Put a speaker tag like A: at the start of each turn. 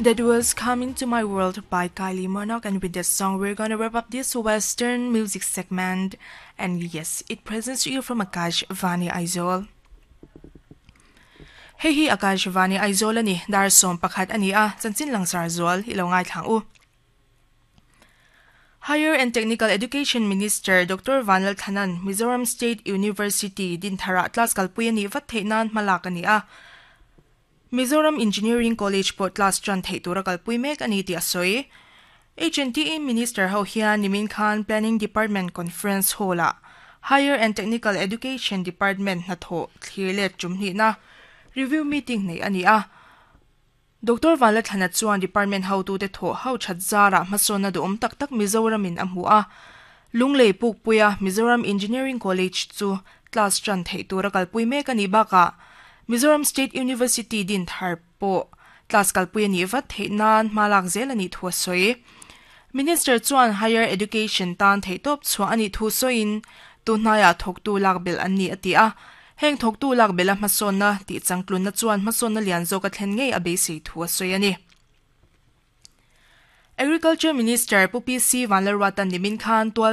A: That was Come Into My World by Kylie Minogue, and with that song, we're gonna wrap up this Western music segment. And yes, it presents to you from Akashvani Aizawl. Hei hi Akashvani Aizawl a ni, dar 11 a ni a, chanchin langsar zual i lo ngaithla ang u. Higher and Technical Education Minister Doctor Vanlal Thanan Mizoram State University Dinthara class kalpui a nih vat theih nan hmalak a ni a. Mizoram Engineering College pawh class tan theih tura kalpui mek a ni tih a sawi. HNTE Minister ho hian nimin khan Planning Department Conference Hall-ah Higher and Technical Education Department hnathawh thlir let tum hnihna review meeting neih a ni a. Doctor Vanlathlana chuan Department hotute thawh ho that zarah hmasawnna duhawm tak tak Mizoramin a hmu a. Lunglei Pukpuia Mizoram Engineering College chu class tan theih tura kalpui mek a nih bakah Mizoram State University din thar pawh class kalpui a nih vat theih nan hma lak zel a nih thu a sawi. Minister chuan Higher Education tan theihtawp chhuah a nih thu sawiin tunhnaiah thawktu lak belh an ni a ti a. Heng thawktu lak belh a hmasawnna tih changtlunna chuan hmasawnna lian zawk a thlen ngei a beisei thu a sawi a ni. Agriculture Minister Pu PC Vanlalruatan nimin khan tual.